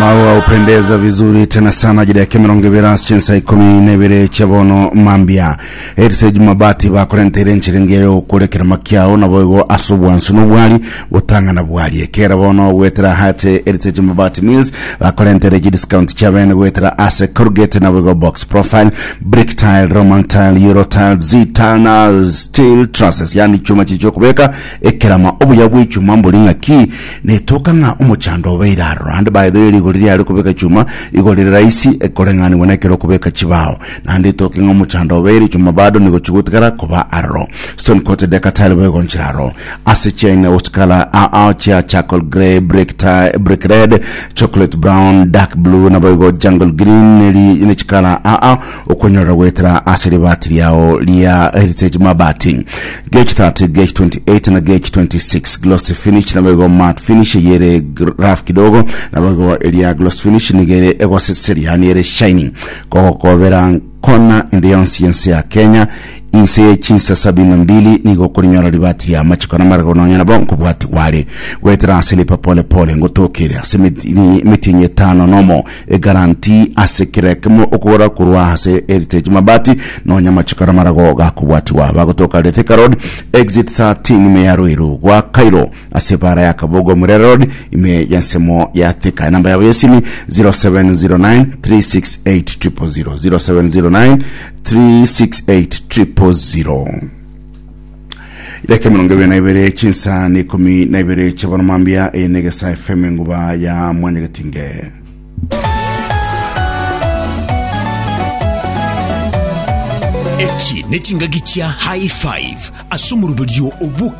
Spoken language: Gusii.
Maua hupendeza vizuri tena sana jira yake 20 ase chinsa 12 chia bono mambia Heritage Mabati bakorenteire enchera engiya yogokorekera makiao nabo igo ase obwansu na obwari botang'ana bwari ekera bono goetera hate Heritage Mabati Mills bakorentere chidiscount chia bene goetera ase corrugate nabo igo box profile brick tile Roman tile Euro tile Z tile na steel trusses yani chuma chichi okobeka ekerama obuya bw'echuma mbori ng'aki Netoka ng'a omochando obeire aroro, naende by the way rigori riare kobeka chuma igo rire rahisi koreng'anigwa nekero okobeka chibao. Naende etoke ng'a omochando obeire chuma bado nigo chigotigara koba aroro. Stone coated decker tile boigo nchire aroro. Ase chiaina gochikala ao chia charcoal grey, brick tile, brick red, chocolate brown, dark blue naboigo jungle green neri nechikala ao okonyorera goetera ase ribati riao ria Heritage Mabati. Gauge 30, gauge 28 na gauge 26 glossy finish naboigo matte finish eyio ere rough kidogo naboigo eria gloss finish nigo ere egoseseria yaani ere shining kogokobera kona ende yonsi y'ense ya Kenya inse ye chinsa sabini na mbili nigo okorinyora ribati ria amachiko na amarago nonya nabo nkobwatigwa are goetera ase lipa pole pole ngotokere ase emetienyi etano nomo Egaranti ase kera ekemo okogora korwa ase Heritage Mabati nonya amachiko n'amarago gakobwatigwa. Bagotoka are Thika Road, Exit 13 ime ya Ruiru gwa Cairo ase ebara ya Kabogo Murere Road ime y'ensemo ya Thika. Enamba yabo y'esimi 0709 368 000 0709 368 000. Idaka 22 chinsa ni 12 chiabana mambia eye negesa FM enguba ya mwanyagetinge. Echi nechingaki chia High Five ase omoroberio o Book.